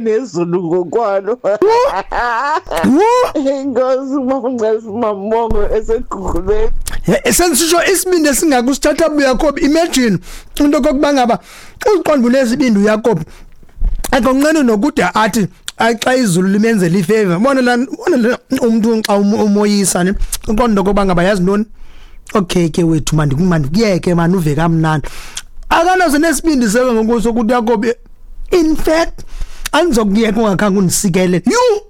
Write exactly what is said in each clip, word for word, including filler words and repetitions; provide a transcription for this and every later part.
Nezulu ngokwalo. Inkosi mama mamongo esegugulweni. Esensisho isibindi esingaka usithatha uYakob. Imagine into kokuba ngaba uqonda unesibindi uYakob. Akonqeni nokude athi xa izulu limenzela ifavor. Bona la, bona umuntu xa umoyisa ne uqonda kokuba ngaba yazi ntoni. Okay ke wethu manje kumanje kuyeke manje uve kamnandi. Akanazo nesibindi seke ngokuso ukuthi Yakob, in fact andizokuyeka ungakhange undisikele. Yu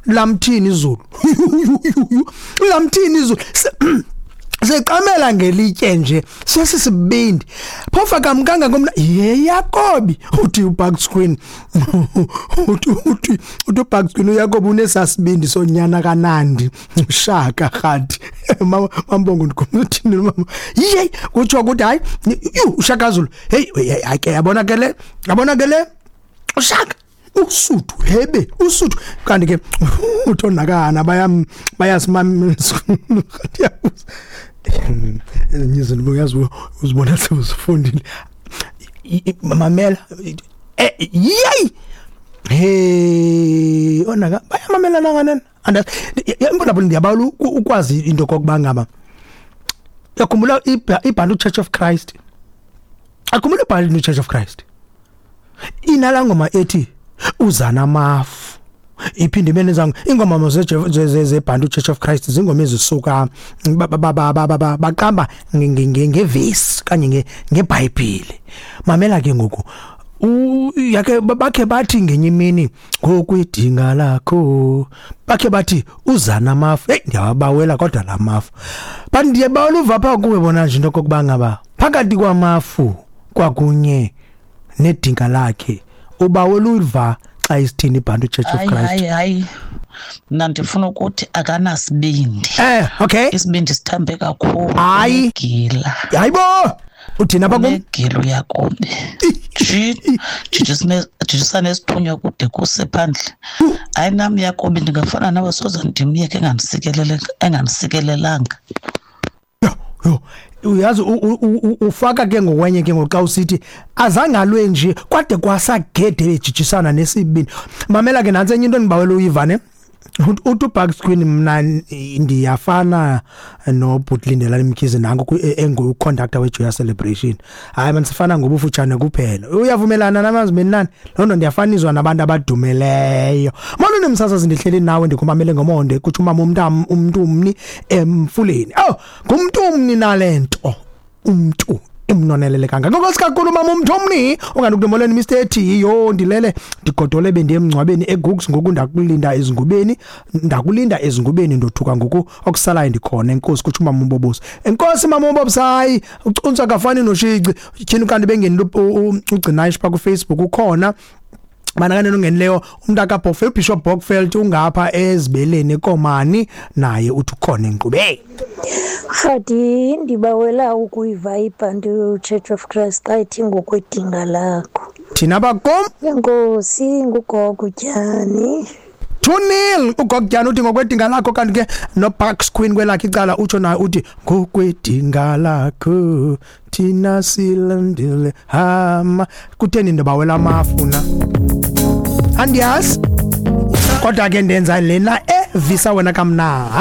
lamthini izulu, lamthini izulu, seqamela ngelitye nje sesisibindi phofa kamkanga komna ye Yakobi. Uthi uBucks Queen, uthi uthi uthi uBucks Queen, uYakobi unesasibindi sonyana kaNandi uShaka Khadi. Mama mambongo ndikhumthini mama ye kutsho ukuthi hayi uShaka Zulu. Hey, hayi ke, yabona ke le, yabona ke le uShaka usuthu hebe usuthu. Kanti ke uthonakana bayam bayasimamela ezinye izinto, uyazi uzibona sewuzifundile. Mamela, yeyi hey, onaka bayamamelana nganene. And imbolapho ndiyabawela ukwazi into kokuba ngaba yakhumbula iBantu Church of Christ, akhumbula iBantu Church of Christ inala ngoma ethi uzana amafu iphinde imene zangu ingoma zeBantu Church of Christ, zingoma ezisuka baqamba ngevesi kanye ngeBhayibheli. Mamela ke ngoku, yakhe bakhe bathi ngenye imini ngokwidinga lakho, bakhe bathi uzana amafu. Hey, ndiyabawela kodwa lamafu, but ndiyabawela uva pha kuwe bona nje into kokuba ngaba phakathi kwamafu kwakunye nedinga lakhe, ubawela uva xa isithini iBantu Church of Christ. Hayi hayi, mna ndifuna ukuthi akanasibindi. Eh okay, isibindi sithambe kakhulu. Hayi gila, hayibo, uthina apha kum gila uYakobi jijisane esithunywa kude kuse phandle. Hayi nam Yakobi ndingafana nawe, soze ndimyeke engandisikelele engandisikelelanga. Yo, uyazi ufaka ke ngokwenye ke ngoxa usithi azangalwe nje kwade kwasagede bejijisana nesibini. Mamela ke nantsi enye into endibawela uyivane. Uthi uBucks Queen, mna ndiyafana noBhutlindelani Mkhize nanku engu-conductor weJoya Celebration. Hayi man, sifana ngobufutshane kuphela. Uyavumelana namazi menani loo nto, ndiyafaniswa nabantu abadumeleyo. Molo nemsasazi, ndihleli nawe ndikumamele ngomonde, kutsho umama umntu umntu mni emfuleni. Oh, ngumntu mni nalento umntu imnonelele kangaka. Nkosi kakhulu mama umntu omni ungandikumoleni Mister T. Yo ndilele ndigodole bendiye emngcwabeni eGooks ngoku ndakulinda ezingubeni, ndakulinda ezingubeni ndothuka ngoku okusalayo ndikhona. Enkosi, kutsho umama uMbobosi. Enkosi mama uMbobosi. Hayi ucuntswa akafani noshici tyhini kanti bengeni ugcinayish pha ku Facebook ukhona bana nongenileyo umuntu akaBockfeld, uBishop Bockfeld ungapha ezibeleni eKomani naye uthi ukhona enkqube. Khadi, ndibawela ukuyiva iBantu Church of Christ xa ithi ngokwedinga lakho. Thina bakom. Enkosi, ngugogo Tyani. Tunil ugogo Tyani uthi ngokwedinga lakho, kanti ke no Parks Queen kwelakhe icala utsho naye uthi ngokwedinga lakho thina silandile hama. Kutheni ndibawela amafuna? Andiyazi. Kodwa ke ndenza lena evisa wena kamna.